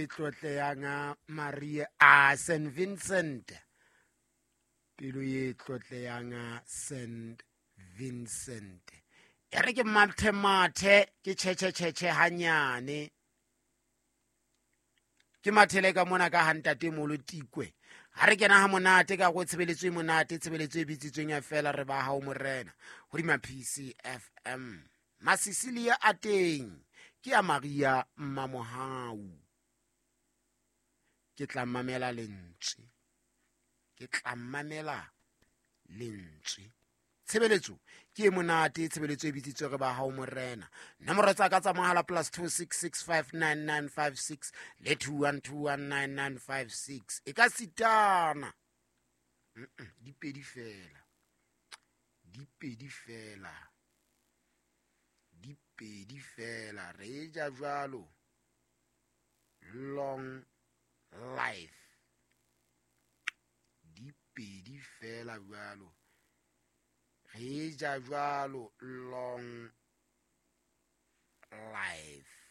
e tlotleyang Maria a St Vincent, pelo ye tlotleyang St Vincent. E re ke mathe mathe ke tšhetšhe tšhetšhe hanyane, ke mathele ka mona ka hantate molo tikwe. Ha re kena ha monate ka go tshebeletso e monate, tshebeletso e bitsitsweng ya fela re ba hao morena hodima PCFM. Masisilia a teng ke ya Maria Mmamohau. Ke tla mamela lentswe, ke tla mamela lentswe. Tshebeletso ke e monate, tshebeletso e bitsitswe re ba hao morena. Nomoro tsa ka tsa mohala +266 59956 le 21219956. E ka sitana di pedi fela, di pedi fela, di pedi fela. Re ja jwalo long life, di pedi fela jwalo. Re ja jwalo long life.